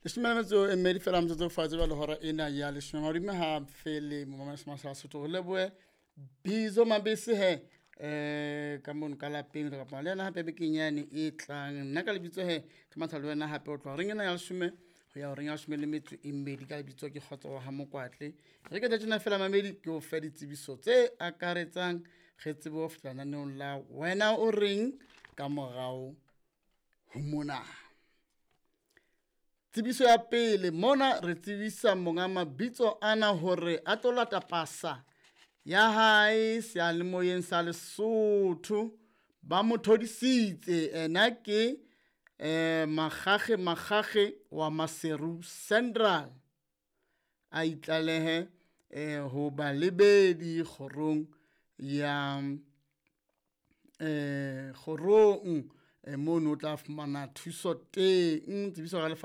12 fela metsotso fatshe jwale hora ena ya leshome madime ha fele momamedi sa Sotho re lebohe Bizo Mabese he ka mono ka lapeng re kopana le yena hape bekeng yane e tlang. Nna ka lebitso he ke matha le wena hape o tloha reng ena ya leshome ho ya horeng ya 12 ka lebitso ke Kgotso wa ha Mokwatle. Re ke tjena fela mamedi ke o fe ditsebiso tse akaretsang re tsebe ho fihla lenaneong la wena o reng ka morao ho mona. Tsebiso ya pele mona re tsebisa monga mabitso ana hore a tlo lata pasa ya hae seyalemoyeng sa Lesotho. Ba mo thodisitse ena ke Makgakge Makgakge wa Maseru Central, a itlalehe ho balebedi kgorong ya kgorong mono o tla fumana thuso teng. Tsebiso ka lefa.